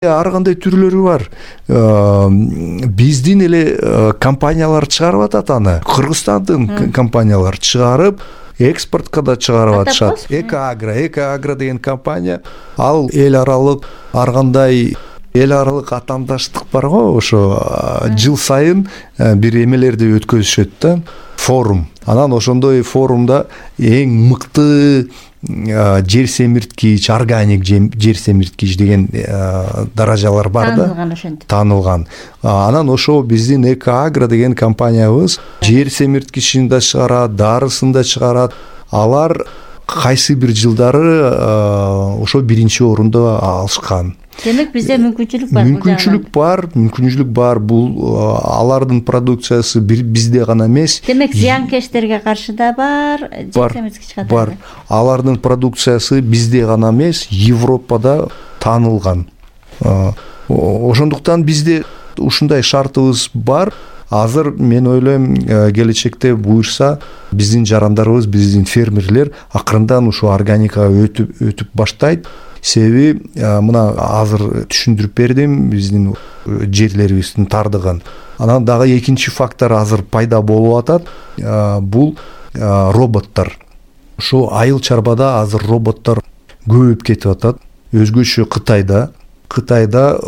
Ар кандай түрлөрү бар. Биздин эле компаниялар чыгарып атат аны. Кыргызстандын компаниялар чыгарып, экспортко да чыгарып атышат. Экоагро деген компания, ал эл аралык ар кандай эл аралык атаандаштык бар го, ошо жыл сайын бир эмелерди өткөзүшөт да, форум. Анан ошондой форумда эң мыкты жер семирткич, органик жер семирткич деген даражалар бар да. Таанылган ошентип. Таанылган. Анан ошо биздин Экоагро деген компаниябыз жер семирткичин да чыгарат, дарысын да чыгарат. Алар кайсы бир жылдары ошо биринчи орунду алышкан. Демек бизде мүмкүнчүлүк бар. Мүмкүнчүлүк бар. Бул алардын продукциясы бизде гана эмес. Демек зыянкечтерге каршы да бар, жер семирткич катары. Бар. Алардын продукциясы бизде гана эмес, Европада таанылган. Ошондуктан бизде ушундай шартыбыз бар. Азыр мен ойлойм, келечекте буюрса биздин жарандарыбыз, биздин фермерлер акырындан ушу органикага өтүп баштайт. Себеби мына азыр түшүндүрүп бердим, биздин жерлерибиздин тардыгын. Анан дагы экинчи фактор азыр пайда болуп атат. Бул роботтор. Ошо айыл чарбада азыр роботтор көбөйүп кетип атат. Өзгөчө Кытайда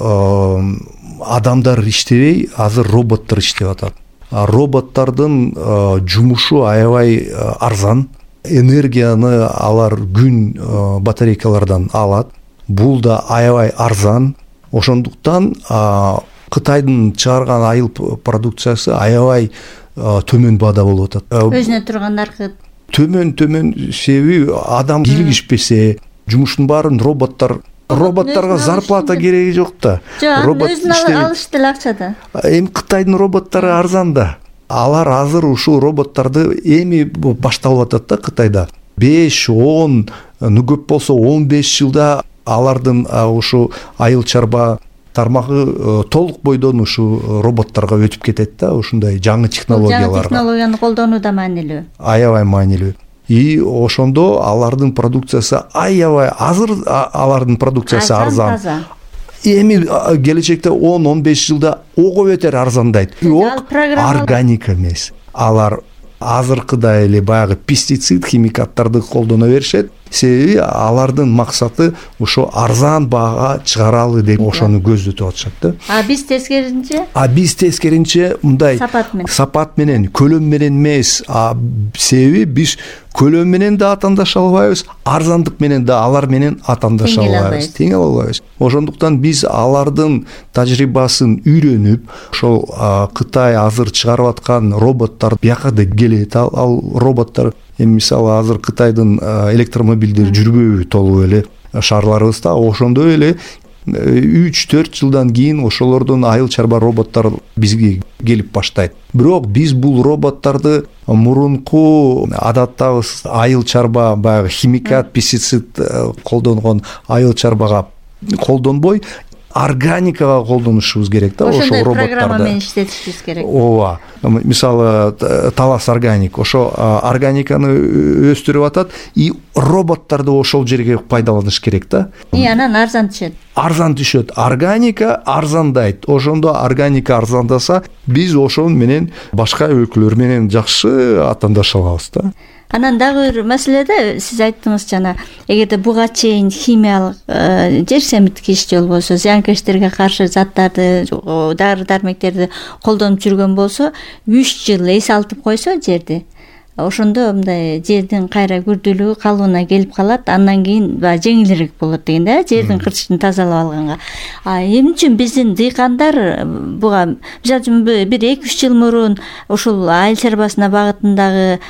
адамдар иштебей, азыр роботтор иштеп атат. Роботтордун жумушу аябай арзан. Энергияны алар күн батарейкалардан алат. Бул да аябай арзан. Ошондуктан Кытайдын чыгарган айыл продукциясы аябай төмөн баада болуп атат. Өзүнө турган наркы төмөн себеби адам кийлигишпесе, жумуштун баарын роботторго зарплата кереги жок да. Жок, өзүн алышты эле акчада. Эми Кытайдын роботтору арзан да. Алар азыр ушул роботторду эми башталып атат да Кытайда. 5-10, көп болсо 15 жылда алардын ушу айыл чарба тармагы толук бойдон ушу роботторго өтүп кетет да, ушундай жаңы технологияларга. Жаңы технологияны колдонуу да маанилүү. Аябай маанилүү. И ошондо алардын продукциясы азыр алардын продукциясы арзан. Эми келечекте 10-15 жылда ого бетер арзандайт. Органика эмес. Алар азыркыдай эле баягы пестицид, химикаттарды колдоно беришет. Себеби алардын максаты ошо арзан баага чыгаралы деп ошону көздөтүп атышат да. Биз тескеринче мындай сапат менен, көлөм менен эмес. Себеби биз көлөм менен да атаандаша албайбыз, арзандык менен да алар менен атаандаша албайбыз, тең албайбыз. Ошондуктан биз алардын тажрыйбасын үйрөнүп, ошол Кытай азыр чыгарып аткан роботтор бияка да келет. Ал роботтор эми мисалы азыр Кытайдын электромобилдери жүрбөйбү толуп эле шаарларыбызда. Ошондой эле 3-4 жылдан кийин ошолордун айыл чарба роботтору бизге келип баштайт. Бирок биз бул роботторду мурунку адаттабыз айыл чарба баягы химикат, пестицид колдонгон айыл чарбага колдонбой, органикага колдонушубуз керек да, ошо роботторду. Ошондой программа менен иштетишибиз керек. Ооба. Мисалы Талас органик, ошо органиканы өстүрүп атат и роботторду ошол жерге пайдаланыш керек да. Анан арзан түшөт. Арзан түшөт. Органика арзандайт. Ошондо органика арзандаса, биз ошол менен башка өлкөлөр менен жакшы атаандаша алабыз да. Анан дагы бир маселеде сиз айттыңыз жана, эгерде буга чейин химиялык жер семирткич же болбосо зыянкечтерге каршы заттарды, дары-дармектерди колдонуп жүргөн болсо, 3 жыл эс алтып койсо жерди, ошондо мындай жердин кайра күрдүүлүгү калыбына келип калат, андан кийин жеңилирээк болот деген да, жердин кыртышын тазалап алганга. Эмне үчүн биздин дыйкандар буга, мисалы үчүн бир 2-3 жыл мурун ушул айыл чарбасына багытындагы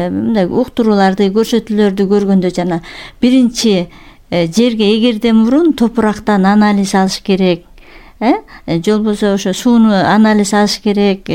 мындай уктурууларды, көрсөтүүлөрдү көргөндө жана биринчи жерге эгерден мурун топурактан анализ алыш керек, же болбосо ошо сууну анализ алыш керек,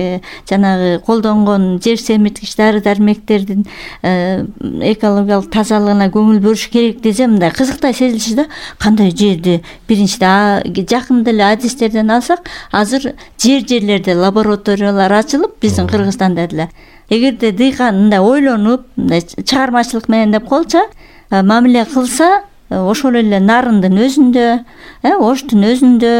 жанагы колдонгон жер семирткич дары-дармектердин экологиялык тазалыгына көңүл бөлүш керек десе, мындай кызыктай сезилчү да. Кандай жерди биринчиден жакында эле адистерден алсак, азыр жерлерде лабораториялар ачылып, биздин Кыргызстанда деле. Эгерде дыйкан мындай ойлонуп, мындай чыгармачылык менен деп коелучу, мамиле кылса, ошол эле нарындын өзүндө, оштун өзүндө